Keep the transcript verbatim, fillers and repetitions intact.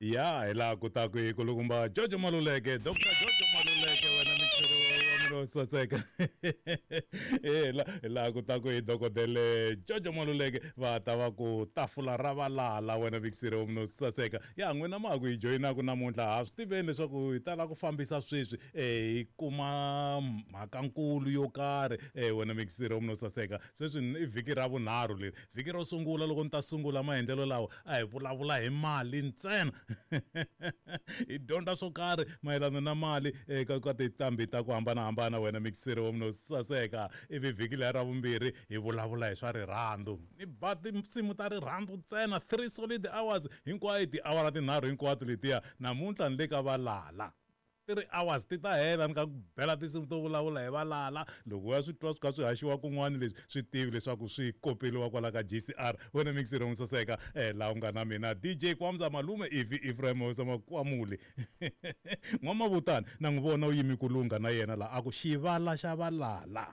Ya hi laha kutaku hi kulukumba Jojo Maluleke, Doctor Jojo Maluleke, wena mixeri wa mina wo saseka. E hi laha kutaku hi dokodele Jojo Maluleke va ta va ku tafula ra valala, wena mixeri wa mina wo saseka. Ya n'wina ma ha ku hi joyinaku namuntlha, ha swi tiveni leswaku hi tala ku fambisa sweswi um hi kuma mhakankulu yo karhi. um wena mixeri wa mina wo saseka, sweswi i vhiki ra vunharhu leri. Vhiki ro sungula loko ni ta sungula maendlelo lawa a hi vulavula hi mali ntsena. Hi dyondza swo karhi mayelana na mali eka ka tinqambi ta ku hambanahambana, wena mixeri wa mina wo saseka. Ivi vhiki leri ra vumbirhi hi vulavula hi swa rirhandzu, ni ba tinsimu ta rirhandzu ntsena three solid hours hinkwayo, tiawara tinharhu hinkwato letiya. Namuntlha ni le ka valala, three hours ti ta hela ni ka ku bela tinsimu to vulavula hi valala. Loko u ya swi twa swi kha swi haxiwa kun'wana leswi, swi tivi leswaku swi kopeliwa kwala ka G C R. Wena mixeri wa saseka, eh laha u nga na mina D J Kwamza Malume Ivi Ephraim Makwamuli N'wamavutani na n'wi vona u yimi ku lungha na yena laha a ku xivala xa valala.